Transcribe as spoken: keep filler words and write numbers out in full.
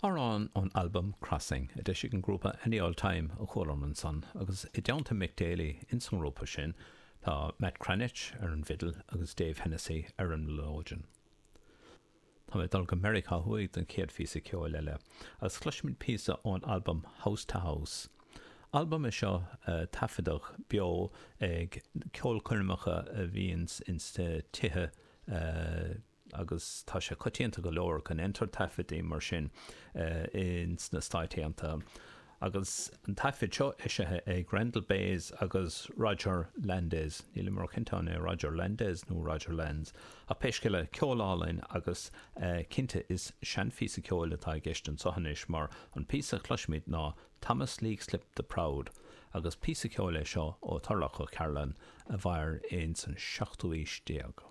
Amhrán ón albam Crossing a d'eisigh an grúpa Any Old Time a chualamar ansan agus i dteannta Mick Daly ins an ngrúpa sin tá Matt Cranitch ar an bhfidil agus Dave Hennessy ar an mileoidean. Tá mé ag dul go Meiriceá Thuaidh don chéad phíosa ceoil eile agus cloisfimid píosa ón albam House to House. Albam é seo a taifeadadh beo ag ceolchoirmeacha a bhíonns ins tithe agus tá sé coitianta go leor go ndéantar taifeadtaí mar sin ins na Stáit Aontaithe. Agus an taifead seo eisithe ag Randall Bays agus Roger Landes, nílim róchinnte an é Roger Landes nó Roger Lands, ach pé scéal é, ceol álainn agus cinnte is seanphíosa ceoil atá i gceist anseo anois mar an píosa a chloisfimid ná Thomas Leixlip the Proud agus píosa ceoil é seo ó Thurlough O'Carolan a mhair ins an seachtú aois déag.